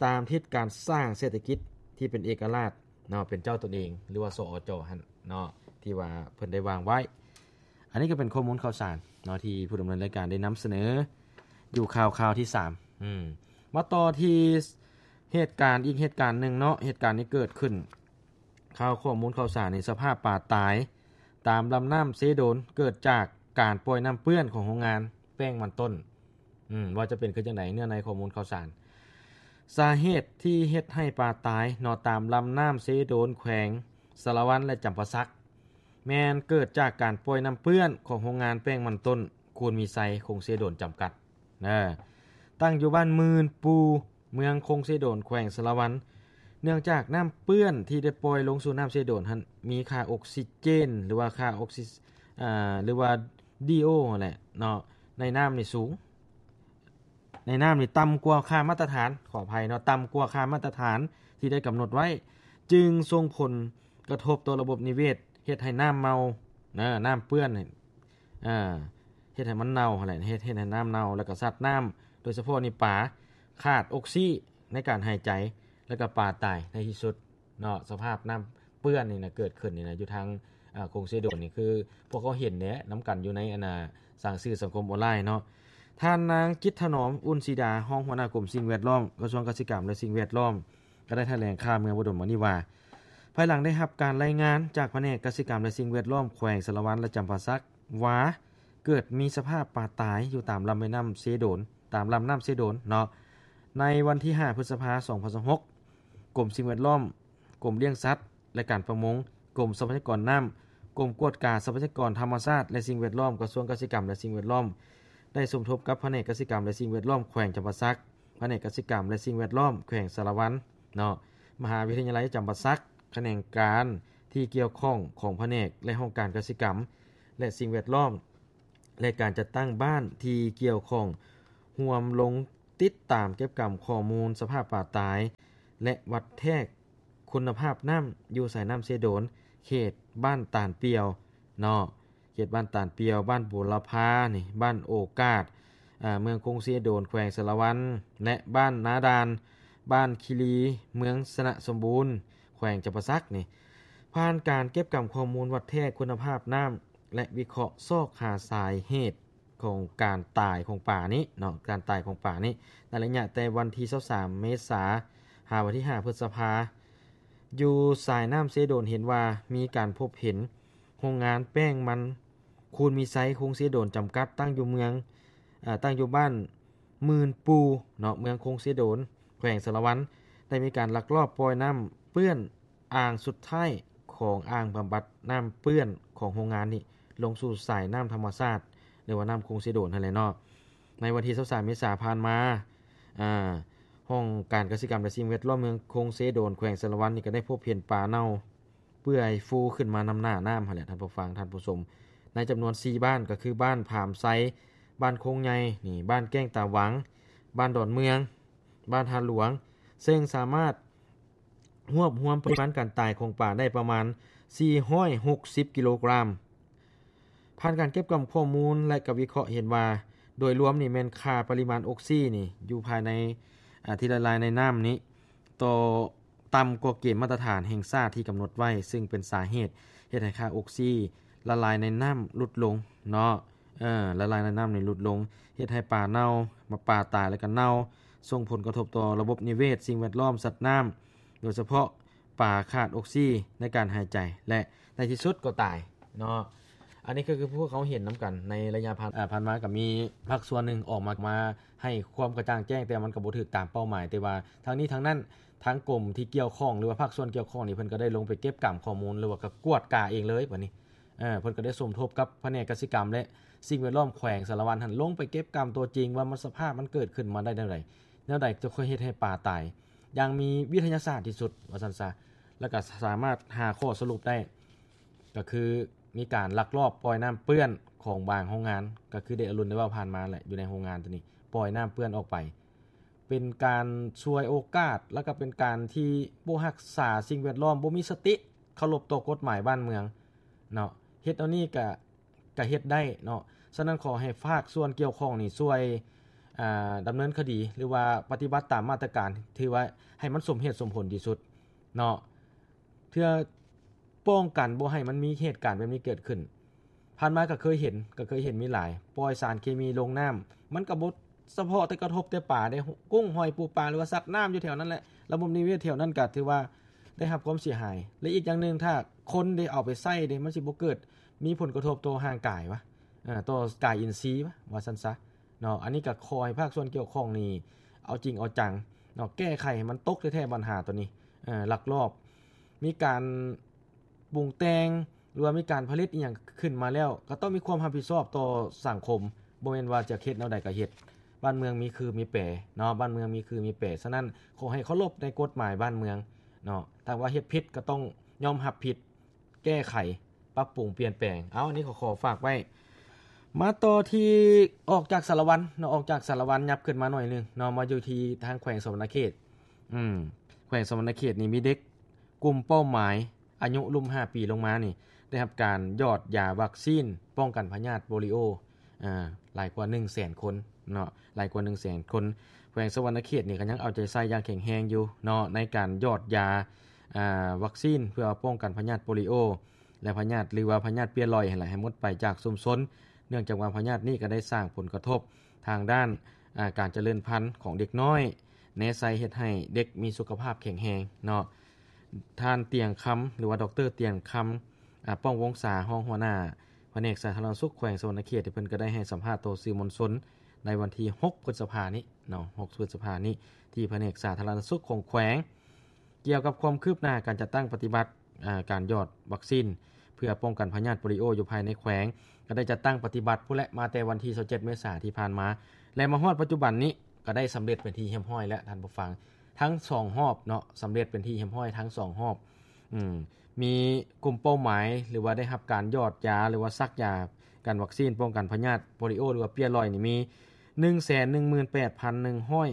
ຕາມທິດການສ້າງເສດຖະກິດທີ່ເປັນເອກະລາດເນາະ, ເປັນເຈົ້າຕົນເອງ ຫຼືວ່າ ສອຈ ຫັ້ນເນາະ ທີ່ວ່າເພິ່ນໄດ້ວາງໄວ້. ອັນນີ້ກໍເປັນຂໍ້ມູນຂ່າວສານເນາະ ທີ່ຜູ້ດຳເນີນລາຍການໄດ້ນຳສະເໜີຢູ່ຂ່າວ ຂ່າວທີສາມ. ອືມ ມາຕໍ່ທີ່ເຫດການ ອີກເຫດການໜຶ່ງເນາະ, ເຫດການນີ້ເກີດຂຶ້ນ ຂ່າວຂໍ້ມູນຂ່າວສານໃນສະພາບປາຕາຍຕາມລຳນ້ຳເຊໂດນ ເກີດຈາກການປ່ອຍນ້ຳເປື້ອນຂອງໂຮງງານແປ້ງມັນຕົ້ນ. ອືມ ວ່າຈະເປັນຄືຈັ່ງໃດ ເນື້ອໃນຂໍ້ມູນຂ່າວສານ. ສາເຫດທີ່ເຮັດໃຫ້ປາຕາຍເນາະ ຕາມລຳນ້ຳເຊໂດນ ແຂວງສາລະວັນ ແລະ ຈຳປາສັກ ແມ່ນເກີດຈາກການປ່ອຍນ້ຳເປື້ອນຂອງໂຮງງານແປ້ງມັນຕົ້ນ ຄູນມີໄຊ ຄົງເຊໂດນ ຈຳກັດ ເອີ ຕັ້ງຢູ່ບ້ານໝື່ນປູ່ ເມືອງຄົງເຊໂດນ ແຂວງສາລະວັນ. ເນື່ອງຈາກນ້ຳເປື້ອນທີ່ໄດ້ປ່ອຍລົງສູ່ນ້ຳເຊໂດນຫັ້ນ ມີຄ່າອົກຊີເຈນ ຫຼືວ່າຄ່າອົກຊີ ອາ ຫຼືວ່າ ດີໂອ ຫັ້ນແຫຼະເນາະ ໃນນ້ຳນີ້ສູງ. ໃນນ້ຳນີ້ຕ່ຳກວ່າຄ່າມາດຕະຖານ, ຂໍອະໄພເນາະ, ຕ່ຳກວ່າຄ່າມາດຕະຖານທີ່ໄດ້ກຳນົດໄວ້, ຈຶ່ງສົ່ງຜົນກະທົບຕໍ່ລະບົບນິເວດ, ເຮັດໃຫ້ນ້ຳເມົາ, ນະ, ນ້ຳເປື້ອນ, ເຮັດໃຫ້ມັນເນົ່າຫັ້ນແຫຼະ, ເຮັດ, ເຮັດໃຫ້ນ້ຳເນົ່າ, ແລ້ວກໍສັດນ້ຳ, ໂດຍສະເພາະນີ້ປາ, ຂາດອົກຊີໃນການຫາຍໃຈ, ແລ້ວກໍປາຕາຍໃນທີ່ສຸດ. ເນາະ, ສະພາບນ້ຳເປື້ອນນີ້ນະ ເກີດຂຶ້ນນີ້ນະ ຢູ່ທາງ ອາ ຂົງເຊໂດນນີ້ ຄືພວກເຮົາເຫັນແຫຼະນຳກັນຢູ່ໃນ ອັນນ່າ ສື່ສັງຄົມອອນລາຍເນາະ. ທ່ານນາງ ຈິດຖະໜອມ ອຸ່ນສີດາ ຮອງຫົວໜ້າກົມສິ່ງແວດລ້ອມ ກະຊວງກະສິກຳ ແລະ ສິ່ງແວດລ້ອມ ກໍໄດ້ຖະແຫຼງຂ່າວເມື່ອບໍ່ດົນມານີ້ວ່າ ພາຍຫຼັງໄດ້ຮັບການລາຍງານຈາກພະແນກກະສິກຳ ແລະ ສິ່ງແວດລ້ອມ ແຂວງສາລະວັນ ແລະ ຈຳປາສັກ ວ່າເກີດມີສະພາບປາຕາຍຢູ່ຕາມລຳແມ່ນ້ຳເຊໂດນ, ຕາມລຳນ້ຳເຊໂດນເນາະ. ໃນວັນທີຫ້າ ພຶດສະພາ ສອງພັນຊາວຫົກ ກົມສິ່ງແວດລ້ອມ, ກົມລ້ຽງສັດ ແລະ ການປະມົງ, ກົມຊັບພະຍາກອນນ້ຳ, ກົມກວດກາຊັບພະຍາກອນທຳມະຊາດ ແລະ ສິ່ງແວດລ້ອມ, ກະຊວງກະສິກຳ ແລະ ສິ່ງແວດລ້ອມ ໄດ້ສົມທົບກັບພະແນກກະສິກຳ ແລະ ສິ່ງແວດລ້ອມ ແຂວງຈຳປາສັກ, ພະແນກກະສິກຳ ແລະ ສິ່ງແວດລ້ອມ ແຂວງສາລະວັນເນາະ, ມະຫາວິທະຍາໄລຈຳປາສັກ, ຂະແໜງການທີ່ກ່ຽວຂ້ອງຂອງພະແນກ ແລະ ຫ້ອງການກະສິກຳ ແລະ ສິ່ງແວດລ້ອມ ແລະ ການຈັດຕັ້ງບ້ານທີ່ກ່ຽວຂ້ອງ ຮ່ວມລົງຕິດຕາມເກັບກຳຂໍ້ມູນສະພາບປາຕາຍ ແລະ ວັດແທກຄຸນນະພາບນ້ຳຢູ່ສາຍນ້ຳເຊໂດນ ເຂດບ້ານຕານປ່ຽວເນາະ, ເຂດບ້ານຕານປ່ຽວ, ບ້ານບູລະພານີ້, ບ້ານໂອກາດ, ເມືອງຄົງເຊໂດນ ແຂວງສາລະວັນ ແລະ ບ້ານນາດ່ານ, ບ້ານຄີລີ, ເມືອງຊະນະສົມບູນ ແຂວງຈຳປາສັກນີ້ ຜ່ານການເກັບກຳຂໍ້ມູນວັດແທກຄຸນນະພາບນ້ຳ ແລະ ວິເຄາະຊອກຫາສາເຫດຂອງການຕາຍຂອງປານີ້ເນາະ, ການຕາຍຂອງປານີ້ ໃນໄລຍະແຕ່ວັນທີຊາວສາມ ເມສາ ຫາວັນທີຫ້າ ພຶດສະພາ ຢູ່ສາຍນ້ຳເຊໂດນ ເຫັນວ່າມີການພົບເຫັນໂຮງງານແປ້ງມັນຄູນມີໄຊ ຄົງເຊໂດນ ຈຳກັດ ຕັ້ງຢູ່ເມືອງ, ເອີ, ຕັ້ງຢູ່ບ້ານໝື່ນປູ່ເນາະ, ເມືອງຄົງເຊໂດນ ແຂວງສາລະວັນ ໄດ້ມີການລັກລອບປ່ອຍນ້ຳເປື້ອນ ອ່າງສຸດທ້າຍຂອງອ່າງບຳບັດນ້ຳເປື້ອນຂອງໂຮງງານນີ້ ລົງສູ່ສາຍນ້ຳທຳມະຊາດ ຫຼືວ່ານ້ຳຄົງເຊໂດນຫັ້ນແຫຼະເນາະ. ໃນວັນທີຊາວສາມ ເມສາຜ່ານມາ, ອາ, ຫ້ອງການກະສິກຳ ແລະ ສິ່ງແວດລ້ອມເມືອງຄົງເຊໂດນ ແຂວງສາລະວັນນີ້ ກໍໄດ້ພົບເຫັນປາເນົ່າເປື່ອຍຟູຂຶ້ນມານຳໜ້ານ້ຳຫັ້ນແຫຼະ ທ່ານຜູ້ຟັງ, ທ່ານຜູ້ຊົມ. ໃນຈຳນວນສີ່ບ້ານ ກໍຄືບ້ານຜາມໄຊ, ບ້ານຄົງໃຫຍ່ນີ້, ບ້ານແກ້ງຕາຫວັງ, ບ້ານດອນເມືອງ, ບ້ານທ່າຫຼວງ, ເຊິ່ງສາມາດ ຮວບຮວມປະລິມານການຕາຍຂອງປາໄດ້ປະມານສີ່ຮ້ອຍຫົກສິບກິໂລກຣາມ. ຜ່ານການເກັບກຳຂໍ້ມູນ ແລະ ກະວິເຄາະເຫັນວ່າ ໂດຍລວມນີ້ແມ່ນຄ່າປະລິມານອົກຊີນີ້ຢູ່ພາຍໃນ ອາ ທີ່ລະລາຍໃນນ້ຳນີ້ ຕໍ່ ຕ່ຳກວ່າເກນມາດຕະຖານແຫ່ງຊາດທີ່ກຳນົດໄວ້, ເຊິ່ງເປັນສາເຫດເຮັດໃຫ້ຄ່າອົກຊີລະລາຍໃນນ້ຳຫຼຸດລົງເນາະ, ເອີ ລະລາຍໃນນ້ຳນີ້ຫຼຸດລົງ, ເຮັດໃຫ້ປາເນົ່າ, ປາຕາຍ ແລະ ກະເນົ່າ, ສົ່ງຜົນກະທົບຕໍ່ລະບົບນິເວດ, ສິ່ງແວດລ້ອມ, ສັດນ້ຳ, ໂດຍສະເພາະປາຂາດອົກຊີໃນການຫາຍໃຈ ແລະ ໃນທີ່ສຸດກໍຕາຍເນາະ. ອັນນີ້ກໍຄືພວກເຮົາເຫັນນຳກັນໃນໄລຍະຜ່ານ, ເອີ, ຜ່ານມາກໍມີພາກສ່ວນໜຶ່ງອອກມາ, ມາໃຫ້ຄວາມກະຈ່າງແຈ້ງ, ແຕ່ວ່າມັນກໍບໍ່ຖືກຕາມເປົ້າໝາຍ. ແຕ່ວ່າທັງນີ້ທັງນັ້ນ, ທາງກົມທີ່ກ່ຽວຂ້ອງ ຫຼືວ່າພາກສ່ວນກ່ຽວຂ້ອງນີ້ ເພິ່ນກໍໄດ້ລົງໄປເກັບກຳຂໍ້ມູນ ຫຼືວ່າກໍກວດກາເອງເລີຍບາດນີ້. ເອີ, ເພິ່ນກໍໄດ້ສົມທົບກັບພະແນກກະສິກຳ ແລະ ສິ່ງແວດລ້ອມແຂວງສາລະວັນຫັ້ນ ລົງໄປເກັບກຳຕົວຈິງວ່າມັນ ສະພາບມັນເກີດຂຶ້ນມາໄດ້ແນວໃດ, ແນວໃດຈຶ່ງຄ່ອຍເຮັດໃຫ້ປາຕາຍຢ່າງມີວິທະຍາສາດທີ່ສຸດ ວ່າຊັ້ນຊະ, ແລ້ວກໍສາມາດຫາຂໍ້ສະຫຼຸບໄດ້ ກໍຄືມີການລັກລອບປ່ອຍນ້ຳເປື້ອນຂອງບາງໂຮງງານ, ກໍຄືໄດ້ອາລຸນໄດ້ເວົ້າຜ່ານມາແຫຼະ, ຢູ່ໃນໂຮງງານຕົວນີ້ ປ່ອຍນ້ຳເປື້ອນອອກໄປ ເປັນການສວຍໂອກາດ ແລ້ວກໍເປັນການທີ່ບໍ່ຮັກສາສິ່ງແວດລ້ອມ, ບໍ່ມີສະຕິເຄົາລົບຕໍ່ກົດໝາຍບ້ານເມືອງເນາະ. ເຮັດແນວນີ້ກະ, ກະເຮັດໄດ້ເນາະ. ສະນັ້ນ ຂໍໃຫ້ພາກສ່ວນກ່ຽວຂ້ອງນີ້ຊ່ວຍ, ອາ, ດຳເນີນຄະດີ ຫຼືວ່າປະຕິບັດຕາມມາດຕະການທີ່ວ່າໃຫ້ມັນສົມເຫດສົມຜົນທີ່ສຸດເນາະ. ເພື່ອປ້ອງກັນບໍ່ໃຫ້ມັນມີເຫດການແບບນີ້ເກີດຂຶ້ນ. ຜ່ານມາກໍເຄີຍເຫັນ, ກໍເຄີຍເຫັນມີຫຼາຍ, ປ່ອຍສານເຄມີລົງນ້ຳ, ມັນກໍບໍ່ສະເພາະແຕ່ກະທົບແຕ່ປາເດ້, ກຸ້ງ ຫອຍ ປູປາ ຫຼືວ່າສັດນ້ຳຢູ່ແຖວນັ້ນແຫຼະ, ລະບົບນິເວດແຖວນັ້ນກໍຖືວ່າໄດ້ຮັບຄວາມເສຍຫາຍ. ແລະ ອີກຢ່າງໜຶ່ງ ຖ້າຄົນໄດ້ເອົາໄປໃຊ້ເດ້, ມັນຊິບໍ່ເກີດມີຜົນກະທົບຕໍ່ຮ່າງກາຍວະ, ເອີ, ຕໍ່ກາຍອິນຊີວະ, ວ່າຊັ້ນຊະ. ເນາະ, ອັນນີ້ກໍຂໍໃຫ້ພາກສ່ວນກ່ຽວຂ້ອງນີ້ເອົາຈິງເອົາຈັງເນາະ, ແກ້ໄຂໃຫ້ມັນຕົກແທ້ໆບັນຫາຕົວນີ້. ເອີ, ລັກລອບມີການປຸງແຕ່ງ ຫຼືວ່າມີການຜະລິດອີ່ຫຍັງຂຶ້ນມາແລ້ວ ກໍຕ້ອງມີຄວາມຮັບຜິດຊອບຕໍ່ສັງຄົມ, ບໍ່ແມ່ນວ່າຈະເຮັດແນວໃດກໍເຮັດ. ບ້ານເມືອງມີຄືມີແປເນາະ, ບ້ານເມືອງມີຄືມີແປ. ສະນັ້ນ ຂໍໃຫ້ເຄົາລົບໃນກົດໝາຍບ້ານເມືອງເນາະ, ຖ້າວ່າເຮັດຜິດກໍຕ້ອງຍອມຮັບຜິດ, ແກ້ໄຂ, ປັບປຸງ, ປ່ຽນແປງ. ເອົາ, ອັນນີ້ກໍຂໍຝາກໄວ້. ມາຕໍ່ທີ່ ອອກຈາກສາລະວັນເນາະ ອອກຈາກສາລະວັນ ຫຍັບຂຶ້ນມາໜ້ອຍໜຶ່ງເນາະ ມາຢູ່ທີ່ທາງແຂວງສະຫວັນນະເຂດ. ອືມ ແຂວງສະຫວັນນະເຂດນີ້ມີເດັກກຸ່ມເປົ້າໝາຍ ອາຍຸລຸ່ມຫ້າປີລົງມານີ້ ໄດ້ຮັບການຢອດຢາວັກຊີນປ້ອງກັນພະຍາດໂປລິໂອ ອາ ຫຼາຍກວ່າໜຶ່ງແສນຄົນເນາະ ຫຼາຍກວ່າໜຶ່ງແສນຄົນ. ແຂວງສະຫວັນນະເຂດນີ້ກໍຍັງເອົາໃຈໃສ່ຢ່າງແຂງແຮງຢູ່ເນາະ ໃນການຢອດຢາ ອາ ວັກຊີນເພື່ອປ້ອງກັນພະຍາດໂປລິໂອ ແລະ ພະຍາດ ຫຼືວ່າພະຍາດເປັ້ຍລອຍຫັ້ນແຫຼະ ໃຫ້ໝົດໄປຈາກຊຸມຊົນ ເນື່ອງຈາກວ່າພະຍາດນີ້ກໍໄດ້ສ້າງຜົນກະທົບທາງດ້ານ ອາ ການຈະເລີນພັນຂອງເດັກນ້ອຍ ແນໃສ່ເຮັດໃຫ້ເດັກມີສຸຂະພາບແຂງແຮງເນາະ. ທ່ານ ຕຽງຄຳ ຫຼືວ່າ ດອກເຕີ ຕຽງຄຳ ອາ ປ້ອງວົງສາ ຮອງຫົວໜ້າພະແນກສາທາລະນະສຸກແຂວງສະຫວັນນະເຂດ ເພິ່ນກໍໄດ້ໃຫ້ສຳພາດຕໍ່ສື່ມວນຊົນໃນວັນທີຫົກ ພຶດສະພານີ້ເນາະ ຫົກ ພຶດສະພານີ້ ທີ່ພະແນກສາທາລະນະສຸກຂອງແຂວງ ກ່ຽວກັບຄວາມຄືບໜ້າການຈັດຕັ້ງປະຕິບັດ ອາ ການຢອດວັກຊີນເພື່ອປ້ອງກັນພະຍາດໂປລິໂອຢູ່ພາຍໃນແຂວງ ກໍໄດ້ຈັດຕັ້ງປະຕິບັດພຸ້ນແຫຼະ ມາແຕ່ວັນທີຊາວເຈັດ ເມສາທີ່ຜ່ານມາ ແລະ ມາຮອດປັດຈຸບັນນີ້ ກໍໄດ້ສຳເລັດເປັນທີ່ຮຽບຮ້ອຍແລ້ວທ່ານຜູ້ຟັງ ທັງສອງຮອບເນາະ ສຳເລັດເປັນທີ່ຮຽບຮ້ອຍທັງສອງຮອບ. ອືມ ມີກຸ່ມເປົ້າໝາຍ ຫຼືວ່າໄດ້ຮັບການຢອດຢາ ຫຼືວ່າສັກຢາກັນວັກຊີນປ້ອງກັນພະຍາດໂປລິໂອ ຫຼືວ່າເປັ້ຍລອຍນີ້ມີ ໜຶ່ງແສນໜຶ່ງໝື່ນແປດພັນໜຶ່ງຮ້ອຍ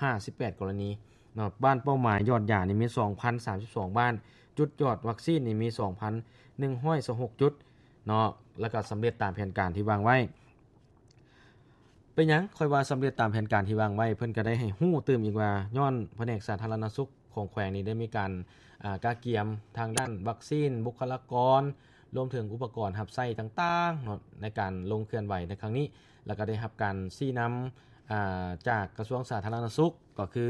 ຫ້າສິບແປດກໍລະນີເນາະ. ບ້ານເປົ້າໝາຍຢອດຢານີ້ມີສອງພັນສາມສິບສອງບ້ານ, ຈຸດຢອດວັກຊີນນີ້ມີສອງພັນໜຶ່ງຮ້ອຍຊາວຫົກຈຸດເນາະ ແລ້ວກໍສຳເລັດຕາມແຜນການທີ່ວາງໄວ້. ເປັນຫຍັງຂ້ອຍວ່າສຳເລັດຕາມແຜນການທີ່ວາງໄວ້? ເພິ່ນກໍໄດ້ໃຫ້ຮູ້ຕື່ມອີກວ່າ ຍ້ອນພະແນກສາທາລະນະສຸກຂອງແຂວງນີ້ໄດ້ມີການ ອາ ກະກຽມທາງດ້ານວັກຊີນ, ບຸກຄະລາກອນ, ລວມເຖິງອຸປະກອນຮັບໃຊ້ຕ່າງໆເນາະ ໃນການລົງເຄື່ອນໄຫວໃນຄັ້ງນີ້ ແລ້ວກໍໄດ້ຮັບການຊີ້ນຳ ອາ ຈາກກະຊວງສາທາລະນະສຸກ ກໍຄື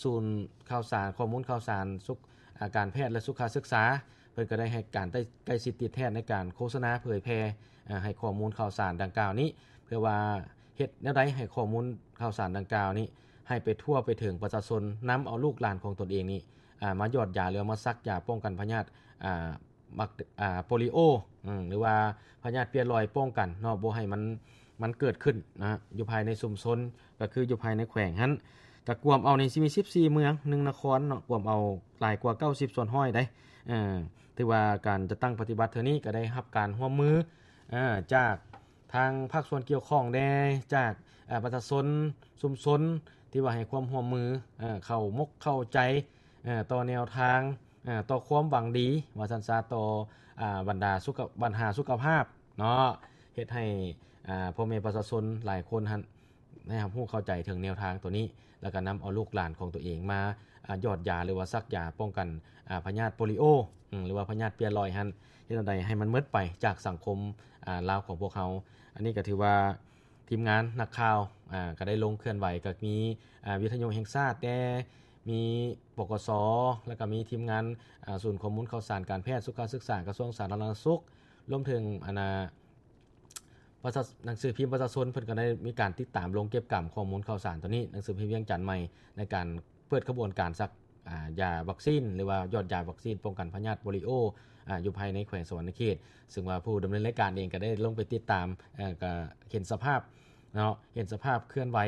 ສູນຂ່າວສານ ຂໍ້ມູນຂ່າວສານສຸກ ອາ ການແພດ ແລະ ສຸຂະສຶກສາ ເພິ່ນກໍໄດ້ໃຫ້ການໃກ້ຊິດຕິດແທດໃນການໂຄສະນາເຜີຍແຜ່ ອາ ໃຫ້ຂໍ້ມູນຂ່າວສານດັ່ງກ່າວນີ້ ເພື່ອວ່າເຮັດແນວໃດໃຫ້ຂໍ້ມູນຂ່າວສານດັ່ງກ່າວນີ້ ໃຫ້ໄປທົ່ວໄປເຖິງປະຊາຊົນ, ນຳເອົາລູກຫຼານຂອງຕົນເອງນີ້ ອາ ມາຢອດຢາ ຫຼືວ່າມາສັກຢາປ້ອງກັນພະຍາດ ອາ ບັກ ອາ ໂປລິໂອ ອາ ຫຼືວ່າພະຍາດເປັ້ຍລອຍປ້ອງກັນເນາະ ບໍ່ໃຫ້ມັນ ມັນເກີດຂຶ້ນນະ ຢູ່ພາຍໃນຊຸມຊົນ ກໍຄືຢູ່ພາຍໃນແຂວງຫັ້ນ ກໍກວມເອົານີ້ຊິມີສິບສີ່ເມືອງ ໜຶ່ງນະຄອນເນາະ ກວມເອົາຫຼາຍກວ່າເກົ້າສິບສ່ວນຮ້ອຍໃດ໋. ເອີ ຖືວ່າການຈັດຕັ້ງປະຕິບັດເທື່ອນີ້ກໍໄດ້ຮັບການຮ່ວມມື ເອີ ຈາກທາງພາກສ່ວນກ່ຽວຂ້ອງແດ່ ຈາກ ເອີ ປະຊາຊົນ ຊຸມຊົນ ທີ່ວ່າໃຫ້ຄວາມຮ່ວມມື ເອີ ເຂົ້າມົກເຂົ້າໃຈ ເອີ ຕໍ່ແນວທາງ ເອີ ຕໍ່ຄວາມຫວັງດີວ່າຊັ້ນຊະ ຕໍ່ ອາ ບັນດາສຸຂະ ບັນຫາສຸຂະພາບເນາະ ເຮັດໃຫ້ ອາ ພໍ່ແມ່ປະຊາຊົນຫຼາຍຄົນຫັ້ນ ໄດ້ຮັບຮູ້ເຂົ້າໃຈເຖິງແນວທາງໂຕນີ້ ແລ້ວກໍນຳເອົາລູກຫຼານຂອງຕົວເອງມາ ອາ ຢອດຢາ ຫຼືວ່າສັກຢາປ້ອງກັນ ອາ ພະຍາດໂປລິໂອ ອາ ຫຼືວ່າພະຍາດເປັ້ຍລອຍຫັ້ນ ເຮັດແນວໃດໃຫ້ມັນໝົດໄປຈາກສັງຄົມ ອາ ລາວຂອງພວກເຮົາ. ອັນນີ້ກໍຖືວ່າທີມງານນັກຂ່າວ ອາ ກໍໄດ້ລົງເຄື່ອນໄຫວ ກໍມີ ອາ ວິທະຍຸແຫ່ງຊາດແດ່ ມີ ປກສ ແລ້ວກໍມີທີມງານ ອາ ສູນຂໍ້ມູນຂ່າວສານການແພດ ສຸຂະສຶກສາ ກະຊວງສາທາລະນະສຸກ ລວມເຖິງ ອັນນ່າ ປະຊາ ໜັງສືພິມປະຊາຊົນ ເພິ່ນກໍໄດ້ມີການຕິດຕາມລົງເກັບກຳຂໍ້ມູນຂ່າວສານໂຕນີ້ ໜັງສືພິມວຽງຈັນໃໝ່ ໃນການເປີດຂະບວນການສັກ ອາ ຢາວັກຊີນ ຫຼືວ່າຢອດຢາວັກຊີນປ້ອງກັນພະຍາດໂປລິໂອ ອາ ຢູ່ພາຍໃນແຂວງສະຫວັນນະເຂດ ເຊິ່ງວ່າຜູ້ດຳເນີນລາຍການເອງກໍໄດ້ລົງໄປຕິດຕາມ ເອີ ກໍເຫັນສະພາບເນາະ ເຫັນສະພາບເຄື່ອນໄຫວ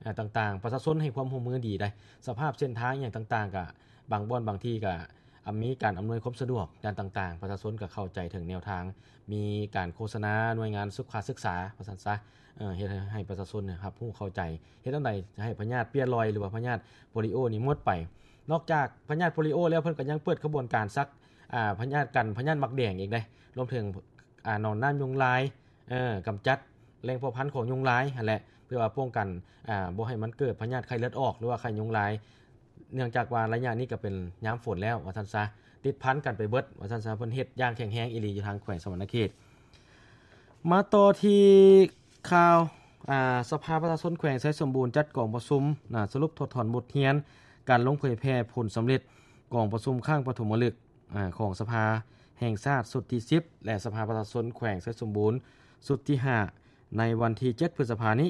ອາ ຕ່າງໆ ປະຊາຊົນໃຫ້ຄວາມຮ່ວມມືດີໃດ໋ ສະພາບເສັ້ນທາງຫຍັງຕ່າງໆ ກໍບາງບ່ອນບາງທີ່ກໍ ອາ ມີການອຳນວຍຄວາມສະດວກດ້ານຕ່າງໆ ປະຊາຊົນກໍເຂົ້າໃຈເຖິງແນວທາງ ມີການໂຄສະນາໜ່ວຍງານສຸຂະສຶກສາ ວ່າຊັ້ນຊະ ເອີ ເຮັດໃຫ້ ໃຫ້ປະຊາຊົນເນຍຮັບຮູ້ເຂົ້າໃຈ ເຮັດແນວໃດໃຫ້ພະຍາດເປັ້ຍລອຍ ຫຼືວ່າພະຍາດໂປລິໂອນີ້ໝົດໄປ. ນອກຈາກພະຍາດໂປລິໂອແລ້ວ ເພິ່ນກໍຍັງເປີດຂະບວນການສັກ ອາ ພະຍາດກັນພະຍາດໝາກແດງອີກເດ້ ລວມເຖິງ ອາ ໜອນນ້ຳຍຸງລາຍ ເອີ ກຳຈັດແຫຼ່ງເພາະພັນຂອງຍຸງລາຍຫັ້ນແຫຼະ ເພື່ອວ່າປ້ອງກັນ ອາ ບໍ່ໃຫ້ມັນເກີດພະຍາດໄຂ້ເລືອດອອກ ຫຼືວ່າໄຂ້ຍຸງລາຍ ເນື່ອງຈາກວ່າໄລຍະນີ້ກໍເປັນຍາມຝົນແລ້ວ ວ່າຊັ້ນຊະ ຕິດພັນກັນໄປເບິດ ວ່າຊັ້ນຊະ ເພິ່ນເຮັດຢ່າງແຂງແຮງອີ່ຫຼີຢູ່ທາງແຂວງສະຫວັນນະເຂດ. ມາຕໍ່ທີ່ຂ່າວ ອາ ສະພາປະຊາຊົນແຂວງໄຊສົມບູນ ຈັດກອງປະຊຸມ ອາ ສະຫຼຸບຖອດຖອນບົດຮຽນການລົງເຜີຍແຜ່ຜົນສຳເລັດກອງປະຊຸມຄັ້ງປະຖົມມະລຶກ ອາ ຂອງສະພາແຫ່ງຊາດຊຸດທີສິບ ແລະ ສະພາປະຊາຊົນແຂວງໄຊສົມບູນຊຸດທີຫ້າ ໃນວັນທີເຈັດ ພຶດສະພານີ້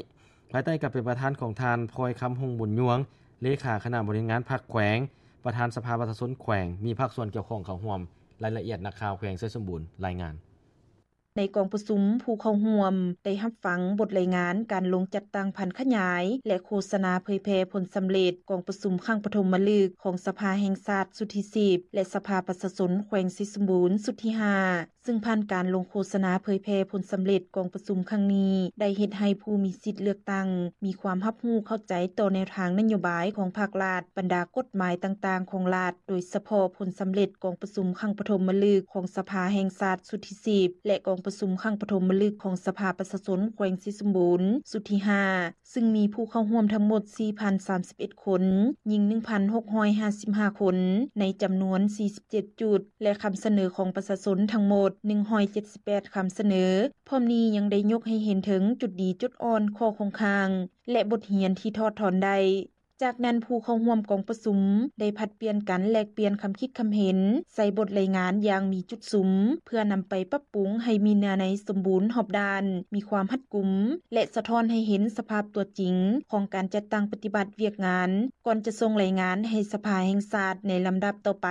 ພາຍໃຕ້ການເປັນປະທານຂອງທ່ານ ພອຍຄຳ ຫົງບຸນຍວງ ເລຂາຄະນະບໍລິຫານງານພັກແຂວງ ປະທານສະພາປະຊາຊົນແຂວງ ມີພາກສ່ວນກ່ຽວຂ້ອງເຂົ້າຮ່ວມ. ລາຍລະອຽດ ນັກຂ່າວແຂວງໄຊສົມບູນລາຍງານ. ໃນກອງປະຊຸມ ຜູ້ເຂົ້າຮ່ວມໄດ້ຮັບຟັງບົດລາຍງານການລົງຈັດຕັ້ງຜັນຂະຫຍາຍ ແລະ ໂຄສະນາເຜີຍແຜ່ຜົນສຳເລັດກອງປະຊຸມຄັ້ງປະຖົມມະລຶກຂອງສະພາແຫ່ງຊາດຊຸດທີສິບ ແລະ ສະພາປະຊາຊົນແຂວງໄຊສົມບູນຊຸດທີຫ້າ ຊຶ່ງຜ່ານການລົງໂຄສະນາເຜີຍແຜ່ຜົນສຳເລັດກອງປະຊຸມຄັ້ງນີ້ ໄດ້ເຮັດໃຫ້ຜູ້ມີສິດເລືອກຕັ້ງມີຄວາມຮັບຮູ້ເຂົ້າໃຈຕໍ່ແນວທາງນະໂຍບາຍຂອງພັກລັດ, ບັນດາກົດໝາຍຕ່າງໆຂອງລັດ, ໂດຍສະເພາະຜົນສຳເລັດກອງປະຊຸມຄັ້ງປະຖົມມະລຶກຂອງສະພາແຫ່ງຊາດຊຸດທີສິບ ແລະ ກອງປະຊຸມຄັ້ງປະຖົມມະລຶກຂອງສະພາປະຊາຊົນແຂວງໄຊສົມບູນຊຸດທີຫ້າ ຊຶ່ງມີຜູ້ເຂົ້າຮ່ວມທັງໝົດສີ່ພັນສາມສິບເອັດຄົນ, ຍິງໜຶ່ງພັນຫົກຮ້ອຍຫ້າສິບຫ້າຄົນ ໃນຈຳນວນສີ່ສິບເຈັດຈຸດ ແລະ ຄຳສະເໜີຂອງປະຊາຊົນທັງໝົດໜຶ່ງຮ້ອຍເຈັດສິບແປດຄຳສະເໜີ. ພ້ອມນີ້ຍັງໄດ້ຍົກໃຫ້ເຫັນເຖິງຈຸດດີຈຸດອ່ອນ, ຂໍ້ຄົງຄ້າງ ແລະ ບົດຮຽນທີ່ຖອດຖອນໄດ້. ຈາກນັ້ນ, ຜູ້ເຂົ້າຮ່ວມກອງປະຊຸມໄດ້ຜັດປ່ຽນກັນແລກປ່ຽນຄຳຄິດຄຳເຫັນໃສ່ບົດລາຍງານຢ່າງມີຈຸດສຸມ ເພື່ອນຳໄປປັບປຸງໃຫ້ມີເນື້ອໃນສົມບູນຮອບດ້ານ, ມີຄວາມຮັດກຸມ ແລະ ສະທ້ອນໃຫ້ເຫັນສະພາບຕົວຈິງຂອງການຈັດຕັ້ງປະຕິບັດວຽກງານ ກ່ອນຈະສົ່ງລາຍງານໃຫ້ສະພາແຫ່ງຊາດໃນລຳດັບຕໍ່ໄປ.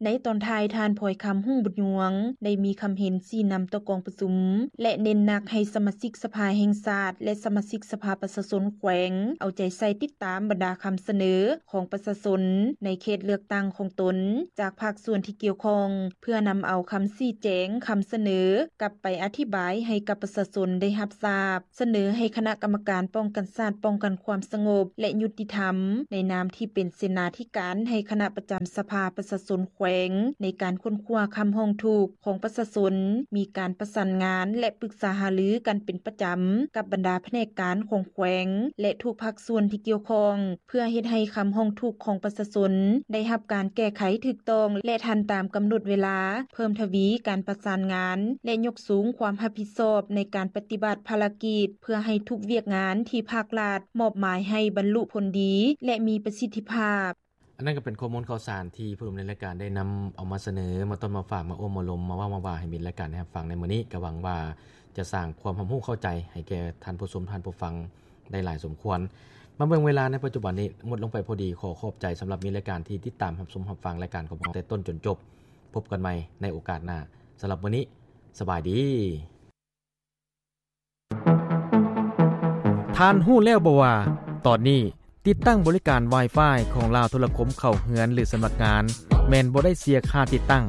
ໃນຕອນທ້າຍ, ທ່ານ ພອຍຄຳ ຮຸ່ງບຸນຍວງ ໄດ້ມີຄຳເຫັນຊີ້ນຳຕໍ່ກອງປະຊຸມ ແລະ ເນັ້ນໜັກໃຫ້ສະມາຊິກສະພາແຫ່ງຊາດ ແລະ ສະມາຊິກສະພາປະຊາຊົນແຂວງ ເອົາໃຈໃສ່ຕິດຕາມບັນດາຄຳສະເໜີຂອງປະຊາຊົນໃນເຂດເລືອກຕັ້ງຂອງຕົນ ຈາກພາກສ່ວນທີ່ກ່ຽວຂ້ອງ ເພື່ອນຳເອົາຄຳຊີ້ແຈງ, ຄຳສະເໜີກັບໄປອະທິບາຍໃຫ້ກັບປະຊາຊົນໄດ້ຮັບຊາບ. ສະເໜີໃຫ້ຄະນະກຳມະການປ້ອງກັນຊາດ, ປ້ອງກັນຄວາມສະຫງົບ ແລະ ຍຸຕິທຳ ໃນນາມທີ່ເປັນເສນາທິການໃຫ້ຄະນະປະຈຳສະພາປະຊາຊົນແຂວງ ໃນການຄົ້ນຄວ້າຄຳຮ້ອງທຸກຂອງປະຊາຊົນ, ມີການປະສານງານ ແລະ ປຶກສາຫາລືກັນເປັນປະຈຳກັບບັນດາພະແນກການຂອງແຂວງ ແລະ ທຸກພາກສ່ວນທີ່ກ່ຽວຂ້ອງ ເພື່ອເຮັດໃຫ້ຄຳຮ້ອງທຸກຂອງປະຊາຊົນໄດ້ຮັບການແກ້ໄຂຖືກຕ້ອງ ແລະ ທັນຕາມກຳນົດເວລາ, ເພີ່ມທະວີການປະສານງານ ແລະ ຍົກສູງຄວາມຮັບຜິດຊອບໃນການປະຕິບັດພາລະກິດ ເພື່ອໃຫ້ທຸກວຽກງານທີ່ພາກລັດມອບໝາຍໃຫ້ບັນລຸຜົນດີ ແລະ ມີປະສິດທິພາບ. ອັນນັ້ນກໍເປັນຂໍ້ມູນຂ່າວສານທີ່ຜູ້ດຳເນີນລາຍການໄດ້ນຳເອົາມາສະເໜີ, ມາຕ້ອນມາຝາກ, ມາໂອ້ມາລົມ, ມາເວົ້າມາວ່າໃຫ້ມິດລາຍການໄດ້ຮັບຟັງໃນມື້ນີ້. ກໍຫວັງວ່າຈະສ້າງຄວາມຮັບຮູ້ເຂົ້າໃຈໃຫ້ແກ່ທ່ານຜູ້ຊົມ, ທ່ານຜູ້ຟັງ ໄດ້ຫຼາຍສົມຄວນ. ມາເບິ່ງເວລາໃນປັດຈຸບັນນີ້ໝົດລົງໄປພໍດີ. ຂໍຂອບໃຈສຳລັບມິດລາຍການທີ່ຕິດຕາມຮັບຊົມຮັບຟັງລາຍການຂອງພວກເຮົາແຕ່ຕົ້ນຈົນຈົບ. ພົບກັນໃໝ່ໃນໂອກາດໜ້າ. ສຳລັບມື້ນີ້, ສະບາຍດີ. ທ່ານຮູ້ແລ້ວບໍ່ວ່າ ຕອນນີ້ ຕິດຕັ້ງບໍລິການ Wi-Fi ຂອງລາວໂທລະຄົມເຂົ້າເຮືອນ ຫຼື ສຳນັກງານ ແມ່ນບໍ່ໄດ້ເສຍຄ່າຕິດຕັ້ງ,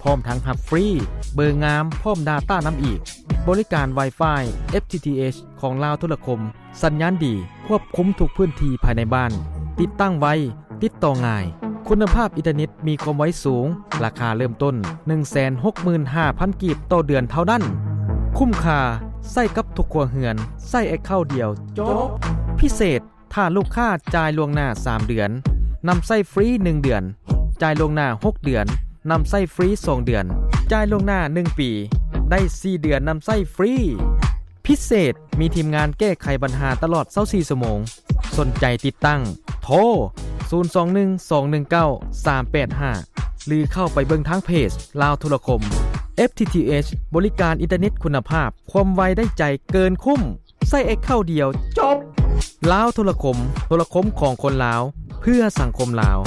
ພ້ອມທັງຮັບຟຣີເບີງາມ ພ້ອມດາຕ້ານຳອີກ. ບໍລິການ Wi-Fi FTTH ຂອງລາວໂທລະຄົມ ສັນຍານດີ, ຄວບຄຸມທຸກພື້ນທີ່ພາຍໃນບ້ານ, ຕິດຕັ້ງໄວ, ຕິດຕໍ່ງ່າຍ, ຄຸນນະພາບອິນເຕີເນັດມີຄວາມໄວສູງ, ລາຄາເລີ່ມຕົ້ນ ໜຶ່ງແສນຫົກໝື່ນຫ້າພັນ ກີບຕໍ່ເດືອນເທົ່ານັ້ນ. ຄຸ້ມຄ່າ, ໃຊ້ກັບທຸກຄົວເຮືອນ, ໃຊ້ແອັກເຄົາດຽວ, ຈົບ. ພິເສດ, ຖ້າລູກຄ້າຈ່າຍລ່ວງໜ້າສາມເດືອນ, ນຳໃຊ້ຟຣີໜຶ່ງເດືອນ, ຈ່າຍລ່ວງໜ້າຫົກເດືອນ, ນຳໃຊ້ຟຣີສອງເດືອນ, ຈ່າຍລ່ວງໜ້າໜຶ່ງປີ, ໄດ້ສີ່ເດືອນນຳໃຊ້ຟຣີ. ພິເສດ, ມີທີມງານແກ້ໄຂບັນຫາຕະຫຼອດຊາວສີ່ຊົ່ວໂມງ. ສົນໃຈຕິດຕັ້ງ? ໂທ ສູນສອງໜຶ່ງ ສອງໜຶ່ງເກົ້າ ສາມແປດຫ້າ ຫຼື ເຂົ້າໄປເບິ່ງທາງເພຈລາວໂທລະຄົມ. FTTH ບໍລິການອິນເຕີເນັດຄຸນນະພາບ, ຄວາມໄວໄດ້ໃຈເກີນຄຸ້ມ. ໃຊ້ແອັກເຄົາດຽວ, ຈົບ. ລາວໂທລະຄົມ, ໂທລະຄົມຂອງຄົນລາວ, ເພື່ອສັງຄົມລາວ.